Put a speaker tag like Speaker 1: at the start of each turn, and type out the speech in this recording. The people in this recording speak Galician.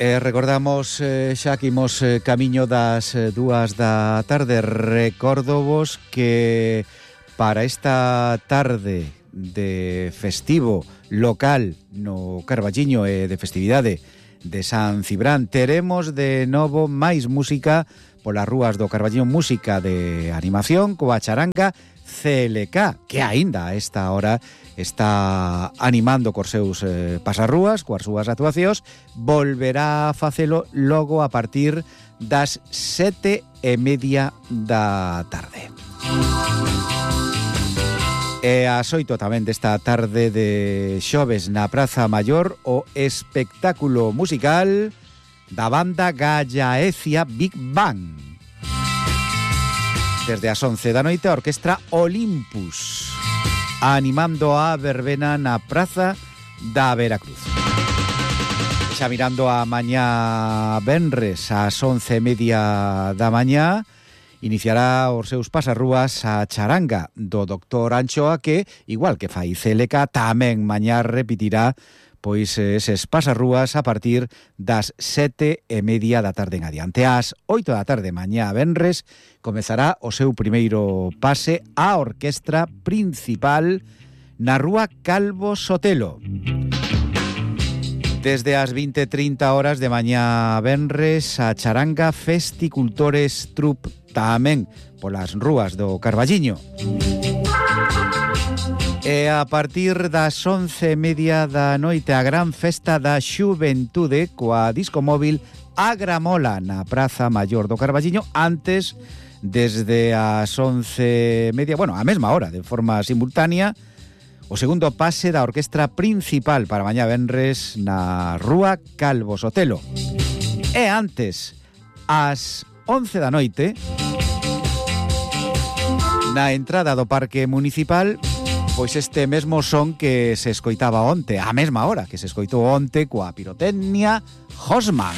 Speaker 1: Recordamos xa que imos camiño das 2 da tarde. Recórdovos que para esta tarde de festivo local no Carballiño e de festividade de San Cibrán teremos de novo máis música polas rúas do Carballiño, música de animación coa charanga CLK, que aínda a esta hora está animando cos seus pasarrúas, coas súas actuacións. Volverá a facelo logo a partir das 7:30 da tarde. E ás 8 tamén desta tarde de xoves na Praza Maior o espectáculo musical da banda Gallaecia Big Bang. Desde as 11 da noite a orquestra Olympus animando a verbena na Praza da Veracruz. Xa mirando a mañá venres ás 11:30 da mañá iniciará os seus pasarrúas a charanga do Dr. Anchoa, que, igual que fai CLK, tamén mañá repetirá pois eses pasarrúas a partir das 7:30 da tarde en adiante. Ás 8 da tarde mañá venres comezará o seu primeiro pase a orquestra principal na rúa Calvo Sotelo. Desde as 20:30 horas de mañá venres a charanga Festicultores Trup, tamén polas rúas do Carballiño. E a partir das 11:30 da noite a gran festa da xuventude coa disco móvil Agramola na Praza Maior do Carballiño. Antes, desde as 11:30, bueno, a mesma hora, de forma simultánea, o segundo pase da orquestra principal para mañá venres na rúa Calvo Sotelo. E antes, ás 11 da noite, na entrada do Parque Municipal, pois este mesmo son que se escoitaba onte, a mesma hora que se escoitou onte coa pirotecnia Hosman.